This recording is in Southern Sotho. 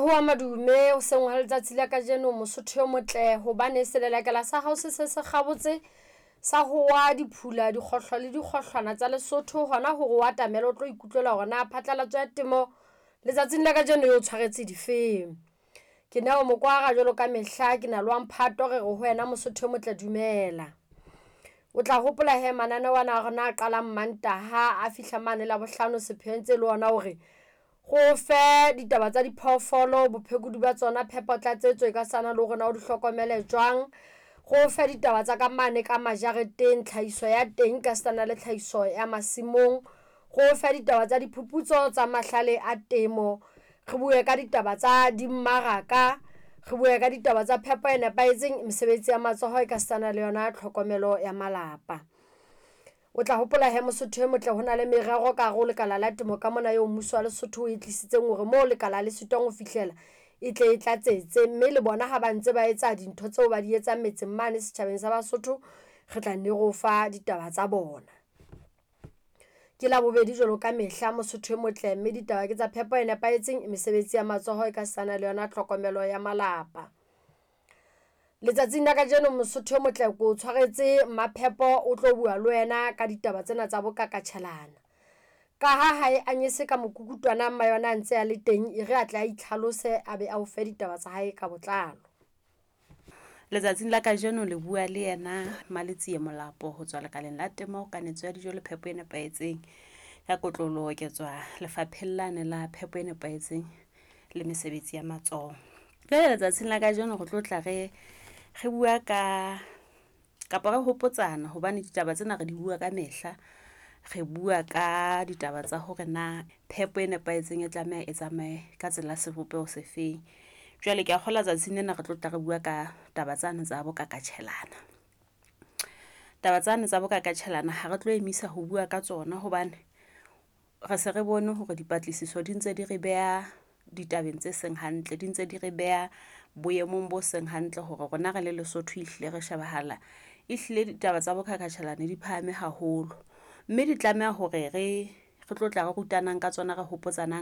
Ho a madume hoseng ha letsatsi la kajeno Mosotho o motle hobane selelekela sa hao se se se kgabotse sa hoa diphula, dikgohlo le dikgohlwana tsa Lesotho hona hore o atamele o tlo ikutlwela hore na phatlalatso ya temo letsatsing la kajeno eo tshwaretse difeng. Ke Neo Mokwara jwalo ka mehla ke na le wa mphato re re ho wena Mosotho o motle dumela. O tla hopola hee mananeo ana a rona a qalang Mantaha a fihla mane Labohlano sepheo ntse le ona hore go fe ditaba tsa diphoofolo, bophekodi ba tsona, phepo tlatsetso e ka sana le hore na o di hlokomele jwang. Go fe ditaba tsa ka mane ka majareteng, tlhahiso ya teng ka sitana le tlhahiso ya masimong. Go fe ditaba tsa diphuputso tsa mahlale a temo, re bue ka ditaba tsa dimmaraka, re bue ka ditaba tsa phepo e nepahetseng, mesebetsi ya matsoho e ka sitana le yona tlhokomelo ya malapa. O tla hopola hee Mosotho e motle hona le merero ka hare ho lekala la temo ka mona eo mmuso wa Lesotho o e tlisitseng hore moo lekala le sitwang ho fihlela e tle e tlatsetse. Mme le bona ha ba ntse ba etsa dintho tseo ba di etsang metseng mane setjhabeng sa Basotho, re tla nne re o fa ditaba tsa bona. Ke Labobedi jwalo ka mehla Mosotho e motle, mme ditaba ke tsa phepo e nepahetseng, mesebetsi ya matsoho e ka sana le yona tlhokomelo ya malapa. Letsatsing la kajeno Mosotho e motle ko tshwaretse Maphepo o tlo bua le wena ka ditaba tsena tsa bokakatjhelana. Ka ha hae anyese ka mokukutwana mma yona a ntse a le teng, e re atle a itlhalose a be a o fe ditaba tsa hae ka botlalo. Letsatsing la kajeno le bua le yena Maletsie Molapo ho tswa lekaleng la temo, kanetso ya dijo le phepo e nepahetseng. Ka kotloloho ke tswa lefapheng lane la phepo e nepahetseng le mesebetsi ya matsoho. Jwale letsatsing la kajeno re tlo tla re re bua ka kapa re hopotsana hobane ditaba tsena re di bua ka mehla. Re bua ka ditaba tsa hore na phepo e nepahetseng e tlameha e tsamaye ka tsela sebopeho se feng. Jwale ke a kgolwa tsatsing lena re tlo tla re bua ka taba tsane tsa bokakatjhelana. Taba tsane tsa bokakatjhelana ha re tlo emisa ho bua ka tsona hobane re se re bone hore dipatlisiso di ntse di re beha ditabeng tse seng hantle, di ntse di re beha boemong bo seng hantle hore rona re le Lesotho ehlile re shebahala ehlile ditaba tsa bokakatjhelane di phahame haholo. Mme di tlameha hore re tlo tla re rutanang ka tsona, re hopotsanang.